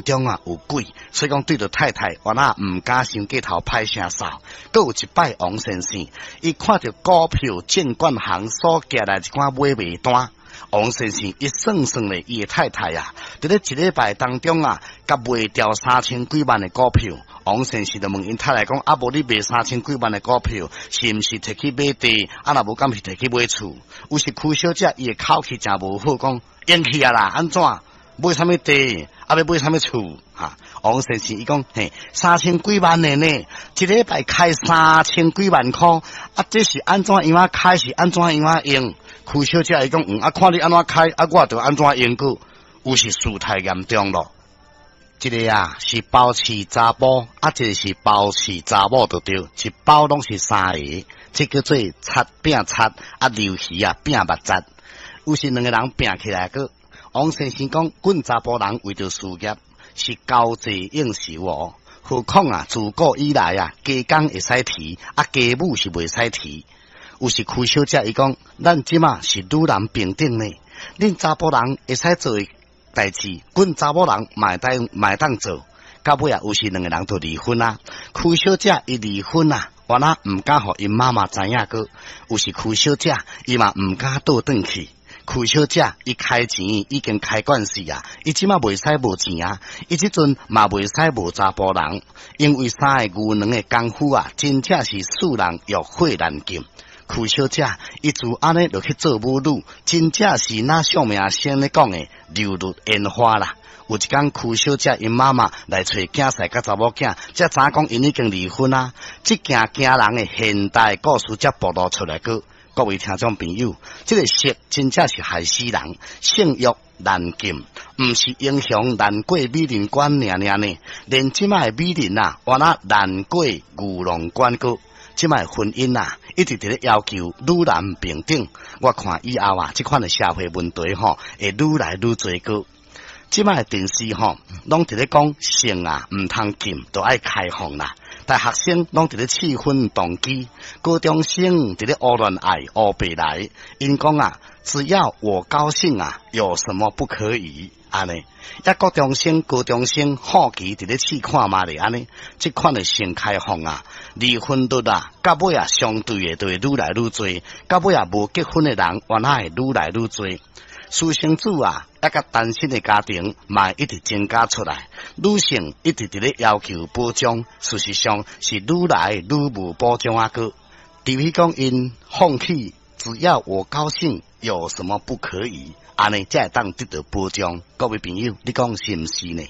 中啊有鬼，所以講對著太太，原來毋敢傷過頭歹聲掃。閣有一擺王先生，伊看著股票證券行所寄來一寡買賣單，王先生伊算算咧，伊的太太啊，佇咧一禮拜當中啊，共賣掉三千幾萬的股票。王先生就問𪜶太太講：啊，無你賣三千幾萬的股票，是毋是提去買地？啊，若無敢是提去買厝？有時柯小姐伊的口氣誠無好，講用去啊啦，按怎買啥物地？啊，欲買啥物厝？哈，王先生伊講嘿，三千幾萬的呢，一禮拜開三千幾萬箍，啊，這是按怎樣仔開？是按怎樣仔用？柯小姐伊講，嗯，啊，看你按怎開，啊，我就按怎用閣。有時事態嚴重咯。一个啊是包飼查埔，啊一个是包飼查某，就對，一包攏是三个，這叫做賊拚賊，啊鰻魚啊拚肉質。有時兩个人拚起來閣，王先生講，阮查埔人為著事業是交際應酬哦。何況啊，自古以來啊，家公會使提，啊家母是袂使提。有時柯小姐伊講，咱這馬是女男平等呢，恁查埔人會使做的代誌，阮查某人嘛會當嘛會當做。到尾啊，有時兩个人就離婚啊。柯小姐伊離婚啊，原來毋敢予𪜶媽媽知影閣。有時柯小姐伊嘛毋敢倒轉去。柯小姐伊開錢已經開慣勢啊，伊這馬袂使無錢啊，伊這陣嘛袂使無查埔人，因為三个牛郎的功夫啊，真正是使人欲火難禁。柯小姐伊自按呢就去做母女，真正是若相命先咧講的流入煙花啦。有一工柯小姐𪜶媽媽來揣囝婿佮查某囝，才知影講𪜶已經離婚啊。這件驚人的現代故事才暴露出來閣。各位聽眾朋友，這个色真正是害死人，性慾難禁，毋是英雄難過美人關爾爾呢，連這擺的美人啊，原來難過牛郎關閣。這擺婚姻啊，一直佇咧要求女男平等。我看以後啊，這款的社會問題吼，會愈來愈濟閣。這擺電視吼，攏佇咧講性啊，毋通禁，都愛開放啦。大學生攏佇咧試婚動機，高中生佇咧胡亂愛烏白來。𪜶講啊，只要我高興啊，有什麼不可以？按呢，抑國中生、高中生好奇佇咧試看覓咧，按呢，這款的性開放啊，離婚率啊，到尾啊，相對的就會愈來愈濟，到尾啊，無結婚的人，原來會愈來愈濟。私生子啊，抑佮單身的家庭嘛一直增加出來，女性一直佇咧要求保障，事實上是愈來愈無保障啊！閣，除非講𪜶放棄，只要我高興，有什麼不可以？按呢才會當得到保障。各位朋友，你講是毋是呢？